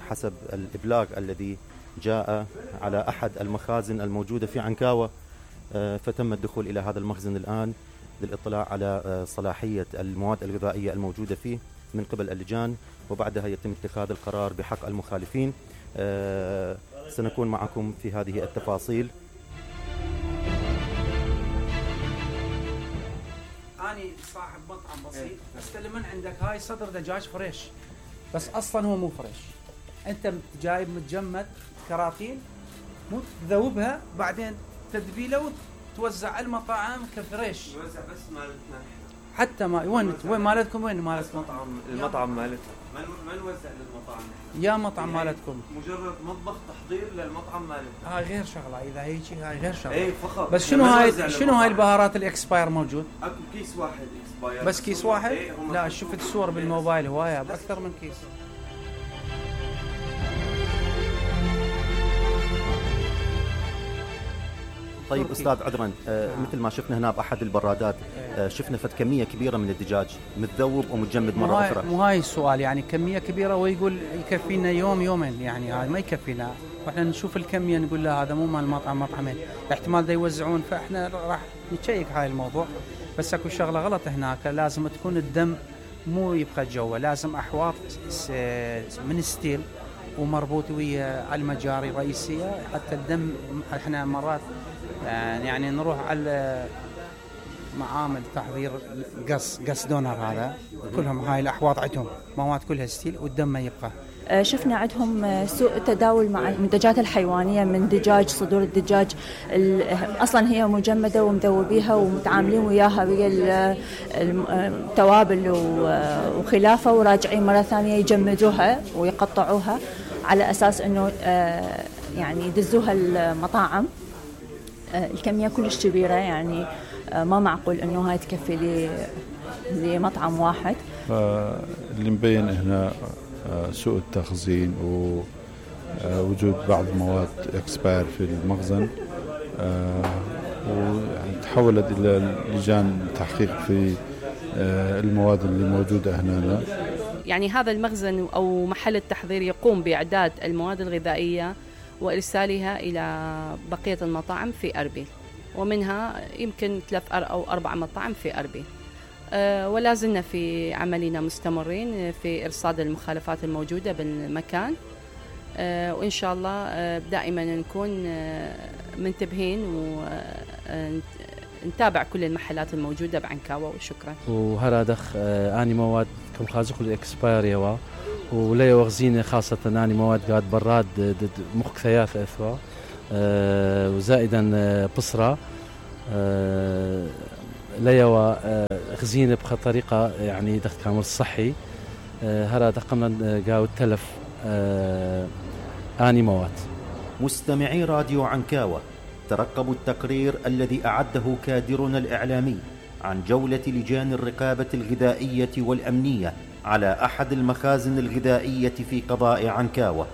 حسب الإبلاغ الذي جاء على أحد المخازن الموجودة في عنكاوة، فتم الدخول إلى هذا المخزن الآن للإطلاع على صلاحية المواد الغذائية الموجودة فيه من قبل اللجان، وبعدها يتم اتخاذ القرار بحق المخالفين. سنكون معكم في هذه التفاصيل. أنا صاحب مطعم بسيط، استلم من عندك هاي صدر دجاج فريش، بس أصلاً هو مو فريش. أنت جايب متجمد كراتين، مو تذوبها بعدين تدبيله وتوزع على المطاعم كفريش. يوزع بس مالتنا حتى ما وين مالتكم؟ وين مالتكم؟ المطعم مالتنا ما نوزع للمطاعم. يا مطعم مالتكم مجرد مطبخ تحضير للمطعم مالتنا. هاي غير شغله، اذا هيك هاي غير شغله. اي فقط. بس شنو هاي البهارات الاكسباير موجود؟ اكو كيس واحد اكسباير. بس كيس واحد؟ لا شفت الصور بالموبايل هوايه باكثر من كيس. طيب أستاذ عذرا، مثل ما شفنا هنا بأحد البرادات، شفنا فد كمية كبيرة من الدجاج متذوب ومتجمد مرة أخرى. مو هاي السؤال، يعني كمية كبيرة ويقول يكفينا يوم يومين، يعني هاي ما يكفينا. واحنا نشوف الكمية نقول لا هذا مو مال المطعم، مطعمين احتمال دا يوزعون، فاحنا راح نتشيك هاي الموضوع. بس اكو شغلة غلط هناك، لازم تكون الدم مو يبقى جوا، لازم أحواض من ستيل ومربوط ويا المجاري الرئيسية حتى الدم. احنا مرات يعني نروح على معامل تحضير قص دونر، هذا كلهم هاي الأحواض عندهم مواد كلها ستيل والدم ما يبقى. شفنا عندهم سوء تداول مع المنتجات الحيوانية من دجاج، صدور الدجاج أصلا هي مجمدة ومذوبيها ومتعاملين وياها ويا التوابل وخلافه، وراجعين مرة ثانية يجمدوها ويقطعوها على أساس أنه يعني يدزوها المطاعم. الكمية كلش كبيرة، يعني ما معقول أنه هاي تكفي لمطعم واحد. اللي مبين هنا سوء التخزين ووجود بعض المواد اكسباير في المخزن، وتحولت إلى لجان تحقيق في المواد اللي موجودة هنا. يعني هذا المخزن أو محل التحضير يقوم بإعداد المواد الغذائية وإرسالها إلى بقية المطاعم في أربيل، ومنها يمكن 3 أو 4 مطاعم في أربيل. ولا زلنا في عملنا مستمرين في إرصاد المخالفات الموجودة بالمكان، وإن شاء الله دائما نكون منتبهين ونتابع كل المحلات الموجودة بعنكاوة. وشكرا. وهرادخ آني مواد كم خازق الإكسباير يوا ولا يوغزين خاصة آني مواد قاد براد مخ ثياث أثوا وزائدا بصرة ليوا خزينة بطريقة يعني دخل كامل صحي. هذا قمنا قاو التلف آني مواد. مستمعي راديو عنكاوة، ترقبوا التقرير الذي أعده كادرنا الإعلامي عن جولة لجان الرقابة الغذائية والأمنية على أحد المخازن الغذائية في قضاء عنكاوة.